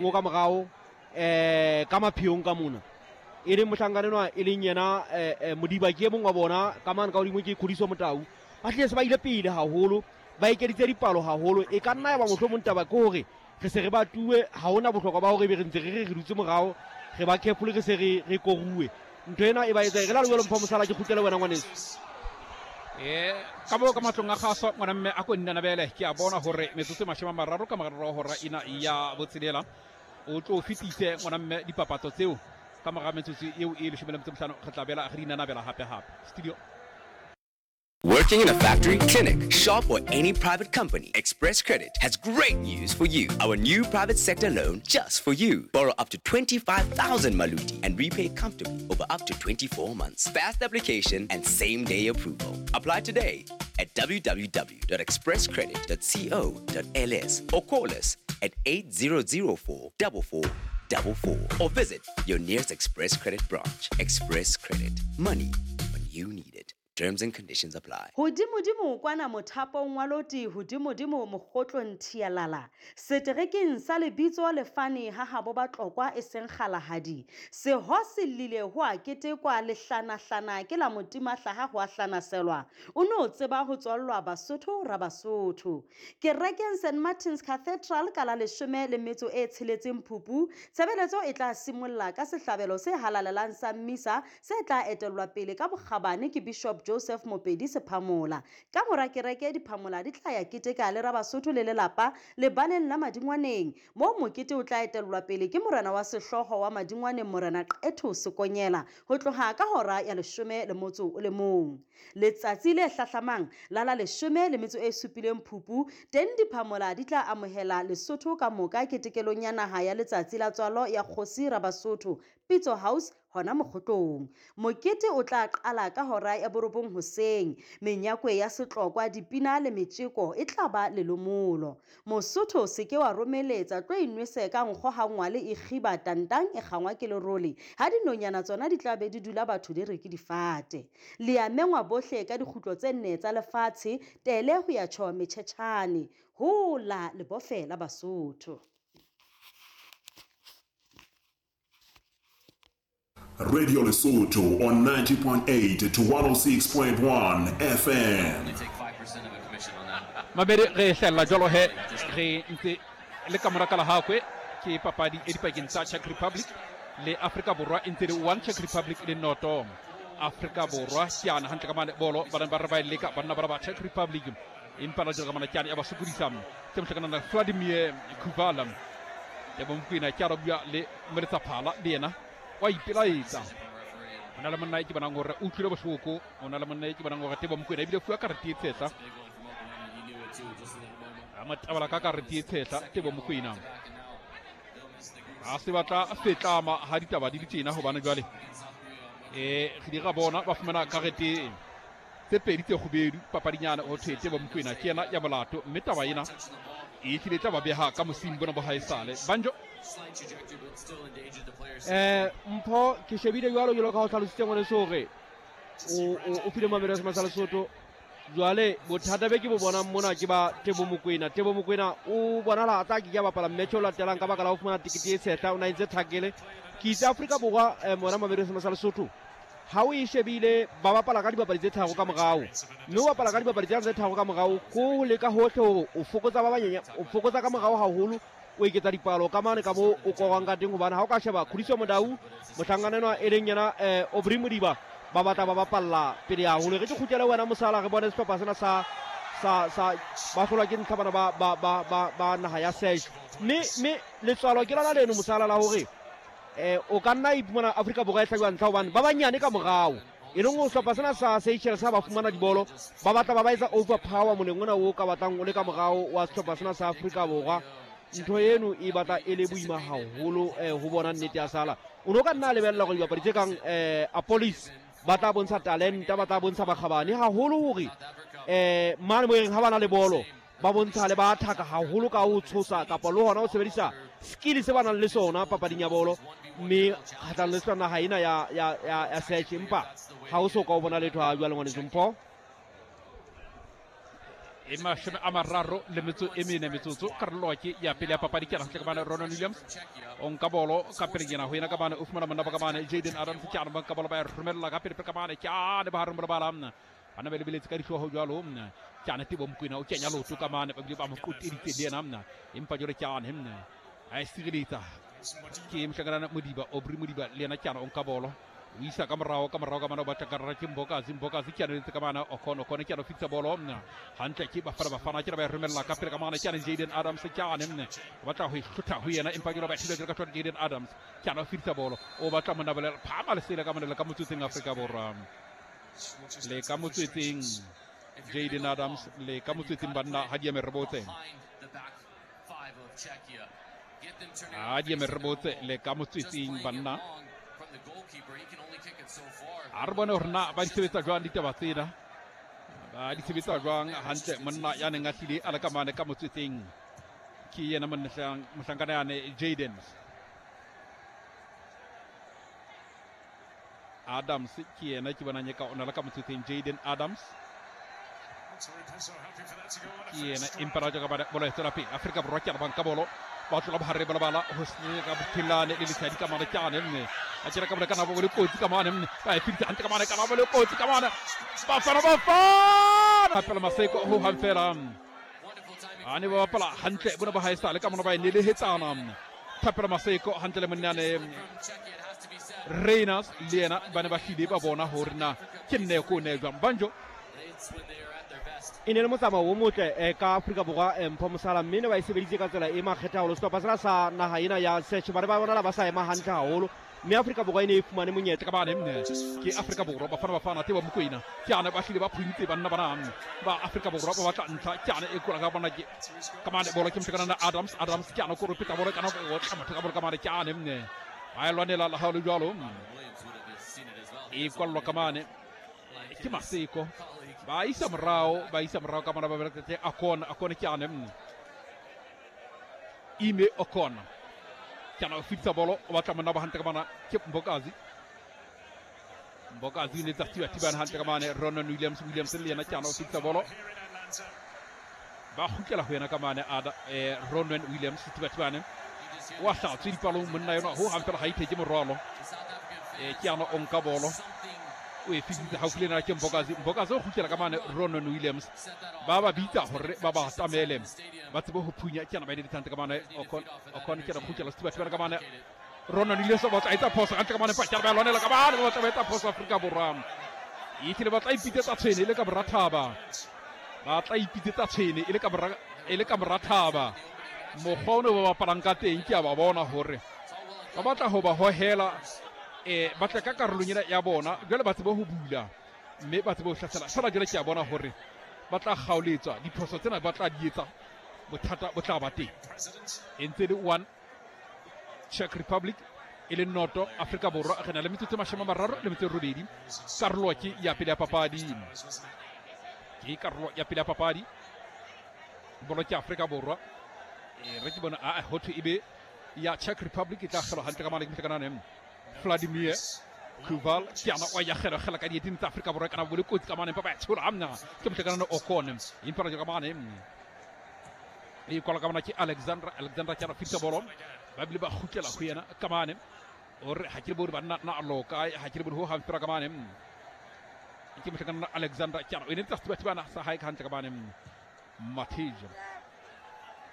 O ka morao um ka mapheong ka mona e leng mohlankana enwa e leng yena um Modiba ke e mong wa bona ka mane ka godimo ke Kgodiso Motau. Ba tlile se ba ile pele haholo, ba ekeditse dipalo haholo. E ka nna ya ba mohlomong taba ke hore re se re batuwe, ha hona bohlokwa ba hore ebe re ntse re re re dutse morao re ba careful re se re re koruwe. Ntho ena e ba etsa e re la lejwalo mpho mosala ke kgutlele wena ngwaneso. E ka mo ka matlong a gaso ngwana mme a ko nnanabele ke a bona gore metsotso e 30 ka morago ga hora ena ya botshelela o tlo fetise ngwana mme dipapatso tseo ka morago metsotso eo e 15 re tla bela re di nanabela gape gape studio. Working in a factory, clinic, shop, or any private company, Express Credit has great news for you. Our new private sector loan just for you. Borrow up to 25,000 maluti and repay comfortably over up to 24 months. Fast application and same day approval. Apply today at www.expresscredit.co.ls or call us at 8004 4444 or visit your nearest Express Credit branch. Express Credit. Money when you need it. Terms and conditions apply. Hodimodimo kwana mothapong wa loti hodimodimo mokgotlong thialala seterekeng sa lebitso lefane ha habo Batlokwa e seng kgalahadi seho se llile ho a ketekwa lehlanahlana ke la motimahlaha ho a hlanaselwa o no tseba ho tswallwa Basotho Rabasotho kerekeng St Martin's Cathedral ka la 16 Phupu tshebeletso e tla simolla ka sehlabelo se halalelang sa mmisa se tla etellwa pele ka bokgabane ke Bishop Joseph Mopedi Sephamola. Ka mora kereke diphamola di tla ya keteka le Rabasotho le lelapa lebaleng la Madingwaneng, moo mokete o tla etellwa pele ke morena wa sehlooho wa Madingwaneng Morena Qetho Sekonyela ho tloha ka hora ya 11. Letsatsi le hlahlamang la la 17 Phupu, teng diphamola di tla amohela Lesotho ka moka ketekelong ya naha ya letsatsi la tswalo ya Kgosi Rabasotho, Pitso House hona Mokgotlong. Mokete o tla qala ka hora ya 9 hoseng. Menyakwe ya setlokwa, dipina le metjeko e tla ba lelomolo. Mosotho se ke wa romeletsa, tlo inwese ka nkgo ha ngwale e kgiba tantang e kgangwa ke lerole, ha dinonyana tsona di tla be di dula batho di re ke difate. Le a mengwa bohle ka dikgutlo tse nne tsa lefatshe, tele ho ya tjho metjhetjhane. Hola lebofe la Basotho. Radio Lesotho on 90.8 to 106.1 FM. Mabedi re hlella jwalo he re ntse le ka mora kala hakwe ke papadi e dipakeng tsa Czech Republic le Afrika Borwa e ntse le 1 Czech Republic le noto Afrika Borwa ke ana hantle ka mane bolo ba ba re ba e leka banna ba ba Czech Republic empa la jwalo ka mana ke ana ya ba sokodisa ke mohlakana na Vladimir Kuvala ya bomokwena ke a bua le Moletsaphala le yena wa ipelaetsa. O na le monna e ke bonang gore o utlwile bohloko, o na le monna e ke bonang gore Tebo Mokwena ebile fuwa karete e tshehla. A mo tabala ka karete e tshehla Tebo Mokwena. A se batla fetlama ha ditaba di le tjena hobane jwale re di ra bona ba fumana karete tse pedi tse kgubedu papadinyana ho thwe Tebo Mokwena ke yena ya molato mme taba ena e hlile tla ba beha ka mosing bona bo haesale banjo. Mpho ke shebile jwalo jwalo ka ho hlalositse ngwaneso hore o file mamelo ya Sema sa Lesotho. Jwale bothata be ke bo bonang mona ke ba Tebo Mokwena. Tebo Mokwena o bonala a tla ke ke a bapala match o latelang ka baka la ho fumana tikete e tshehla, o na entse thakele. Ke itse Afrika Borwa mona mamelo ya Sema sa Lesotho ha o e shebile ba bapala ka dibapadi tse tharo ka morao, mme o bapala ka dibapadi tse tharo ka morao ko leka hohle hore o fokotsa ba banyenya, o fokotsa ka morao haholo, o eketsa dipalo ka mane ka mo o korang ka teng. Hobane ha o ka sheba Khudiso Modau mohlankana enwa e leng yena Aubrey Modiba ba batla ba bapalla pele haholo. Re ke kgutlele wena mosala re bone sehlopha sena sa sa sa ba hlolwa ke ntlha bana ba ba ba ba ba naha ya Sesh, mme mme letswalo ke lona leno mosala la hore o ka nna iphumana Afrika Borwa e hlabiwa ntlha hobane ba banyane ka morao, e leng ho sehlopha sena sa Seychelles ha ba fumana dibolo ba batla ba ba etsa overpower moleng ona o ka batlang o le ka morao wa sehlopha sena sa Afrika Borwa. Ntho eno e batla e le boima haholo ho bona nnete ya sala. O no ka nna lebella hore dibapadi tse kang Apolis ba tla bontsha talenta, ba tla bontsha bakgabane haholo hore mane mo e reng ha ba na le bolo ba bontsha le ba thaka haholo ka ho tshosa kapa le hona ho sebedisa skill se ba nang le sona papading ya bolo, mme kgahlanong le sona naha ena ya ya ya ya Search, empa ha o so ka o bona letho ha jwale ngwaneso Mpho. E 34 le metso e mene metsotso karolo ke ya pele ya papadi ke hantle ka mane Ronan Williams o nka bolo ka pelenyana ho yena ka mane o fumana monna ba ka mane Jaden Adams ke ana ba nka bolo ba e romella ka pele pele ka mane ke ane ba hareng bolabala bana ba lebeletse ka dihlooho jwalo ke ane Tebo Mokoena o kenya leoto ka mane ba bile ba mo qoteditse le yena empa jwale ke ane a e sireletsa ke mohlankana Modiba Aubrey Modiba le yena ke ana o nka bolo o isa ka morao ka morao ka mane o batla karara ke Mbokazi Mbokazi ke ane letse ka mane Okon Okon ke ane o fitisa bolo hantle ke Bafana Bafana ke ba e romella ka pele ka mane ke ane Jaden Adams ke ane o batla ho e hlotha ho yena empa ke ba thibela jwalo ka tshwara Jaden Adams ke ane o fitisa bolo o batla monna bolela phama lesela ka mane le ka motswetseng Afrika Borwa le ka motswetseng Jaden Adams le ka motswetseng banna ha di eme re botse ha di eme re botse le ka motswetseng banna a re bone hore na ba di sebetsa jwang ditaba tsena ba di sebetsa jwang hantle monna ya neng a hlile a le ka mane ka motswetseng ke yena mohlankana yane Jaden Adams ke yena ke bonang ka ona le ka motswetseng Jaden Adams ke yena empa ra ka bolo e tswela pele Afrika Borwa ke a banka bolo ba tlola bohare ba lebala ho se ka bothilane le letshadi ka mane ke ane mme a tjera ka bole kana bo le kotsi ka mane mme ba e fitisa hantle ka mane kana bo le kotsi ka mane Bafana Bafana Thapelo Maseko ho hang fela a ne ba bapala hantle bona ba haesale ka mona ba e nelehetsana Thapelo Maseko hantle le monnane Reiners le yena ba ne ba hlile ba bona hore na ke nne ko ne jwang banjo E ne le motsamao o motle ka Afrika Borwa Mpho Mosala mme ne ba e sebeditse ka tsela e makgethe haholo. Sehlopha sena sa naha ena ya Czech ba ne ba bonala ba sa ema hantle haholo mme Afrika Borwa e ne e fumane monyetla. Ka bane ke Afrika Borwa Bafana Bafana Tebo Mokoena ke ane ba hlile ba phuntse banna bana ba Afrika Borwa ba batla ntlha ke ane e kola ka bona ke ka mane bolo ke mohlakana Adams Adams ke ane ko ropeta bolo kana o tla motho ka bolo ka mane ke ane ba e lwanela la ha le jwalo e kwallwa ka mane ke Maseko ba isa morao ba isa morao ka mona ba bereketse Akon Akon ke ane Ime Okon ke ana o fitisa bolo o batla monna ba hantle ka mona ke Mbokazi Mbokazi o ne tsa thiba thibana hantle ka mane Ronan Williams Williams le yena ke ana o fitisa bolo ba kgutlela ho yena ka mane ada Ronan Williams thiba thibane wa hlatswe dipalong monna yona ho hang fela ha itheke morwalo ke ana o nka bolo o e fitise haufi le ena ke Mbokazi Mbokazi o kgutlela ka mane Ronan Williams ba ba bitsa hore ba ba atamele ba tsebe ho phunya ke ana ba editse hantle ka mane Okon Okon ke ana kgutlela sethiba thibana ka mane Ronan Williams o batla etsa phoso hantle ka mane Pakare ba lwanela ka mane ba batla ba etsa phoso Afrika Borwa e tlile ba tla ipitsetsa tshwene e le ka bora thaba ba tla ipitsetsa tshwene e le ka bora e le ka bora thaba mokgwa o ne ba bapalang ka teng ke a ba bona hore ba batla ho ba hohela ba tle ka karolong ena ya bona jwale ba tsebe ho bula mme ba tsebe ho hlasela fela jwale ke a bona hore ba tla kgaoletswa diphoso tsena ba tla di etsa bothata bo tla ba teng e ntse le 1 Czech Republic e le noto Afrika Borwa re na le metsotso e 38 karolo ke ya pele ya papadi ke karolo ya pele ya papadi bolo ke Afrika Borwa re ke bona a ho thwe ebe ya Czech Republic e tla kgelwa hantle ka mane ke mohlakanane Vladimir Kuval ke ana o ya kgela kgela ka dieteng tsa Afrika Borwa kana bole kotsi ka mane empa ba tshola amna ke mohlakanane Okon empa re ka mane e kwala ka mona ke Alexandra Alexandra ke ana fitsa bolo ba bile ba kgutlela ho yena ka mane o re ha ke bone banna na loka ha ke bone ho hang fela ka mane ke mohlakanane Alexandra ke ana o ne tsa sethiba thibana sa hae ka hantle ka mane Matija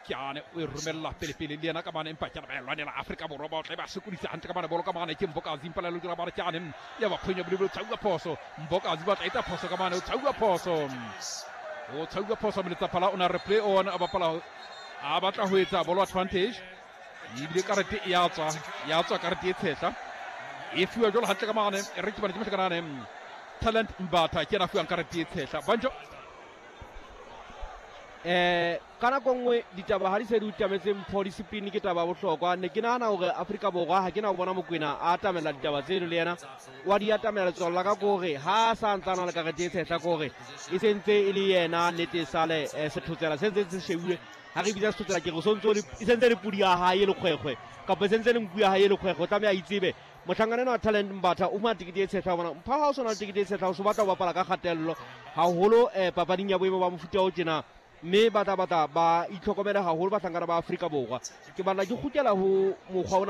ke ane o e romella pele pele le yena ka mane empa ke ana ba e lwanela Afrika Borwa ba tle ba sokodisa hantle ka mane bolo ka mane ke Mbokazi empa le lokela ba re ke ane ya ba phonya bole bole tshauwa phoso Mbokazi ba tla etsa phoso ka mane o tshauwa phoso o tshauwa phoso moletsaphala o na re play on a bapala a batla ho etsa bolo advantage ebile karete e ya tswa karete e tshehla e fuwa jwalo hantle ka mane e re ke bane ke mohlakanane Talent Mbatha ke yena fuwang karete e tshehla banjo ka nako nngwe ditaba ha di se di utametse Mpho discipline ke taba ya bohlokwa ne ke nahana hore Afrika Borwa ha ke na ho bona Mokoena a atamela ditaba tseno le yena wa di atamela letswalo la ka ke hore ha sa ntse a na le karete e tshehla ke hore e sentse e le yena nnete sale sethotsela se ntse se shebile ha re bitsa sethotsela ke re sontso e sentse le pudi ya hae e lekgwekgwe kapa e sentse le nku ya hae e lekgwekgwe o tlameha a itsebe mohlankana enwa wa Talent Mbatha o fumana tekete e tshehla bona mpha ha o sona le tekete e tshehla o so batla ho bapala ka kgatello haholo papading ya boemo ba mofuta o tjena Mme ba tla batla ba itlhokomele haholo bahlankana ba Afrika Borwa. Ke batla ke kgutlela ho mokgwa ona.